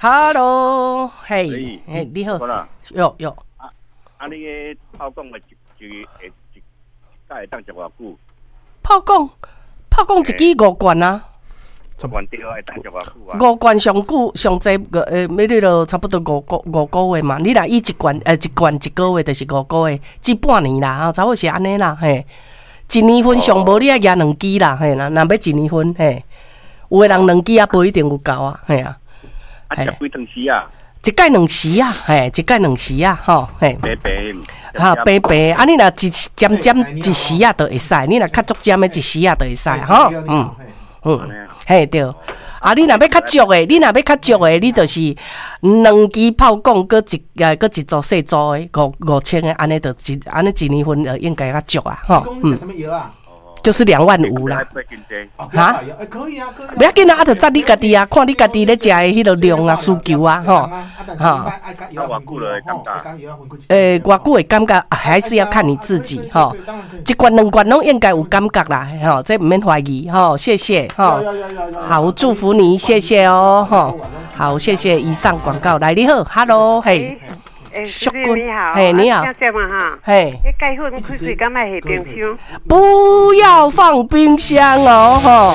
Hello，嘿，嘿，你好，喲喲。啊，你个泡貢的一一會一擺會當食偌久？泡貢，泡貢一支五罐啊。罐對，會當食偌久啊？五罐上久上濟個欲你著差不多5個月嘛。你若以一罐一個月，就是五個月，至半年啦，吼，差不多是按呢啦，嘿。一年份上無你愛舉兩支啦，嘿啦，若欲一年份，嘿。有的人兩支也無一定有夠啊，嘿啊。啊，食幾湯匙啊？一擺兩匙啊，嘿，一擺兩匙啊，吼，嘿。白白。哈，白白，啊，你若一尖尖一匙仔就會使，你若較足尖的一匙仔就會使，吼，嘿對。啊，你若欲較足的，你若欲較足的，你就是兩支泡貢，閣一組細組的5000的，按呢就一按呢一年份就應該較足啊，吼。就是2萬5啦。哈？可以啊，可以。袂要緊啊，啊，就節你家己啊，看你家己咧食的彼个量啊，需求啊，吼，吼。偌久會感覺還是要看你自己，吼。一罐兩罐攏應該有感覺啦，吼，這毋免懷疑，吼，謝謝，吼。好，祝福你，謝謝哦，吼。好，謝謝。以上廣告，來，你好，Hello，嘿。淑君你好，嘿，你好，嘿，彼鈣粉開開敢愛下冰箱？不要放冰箱哦，吼。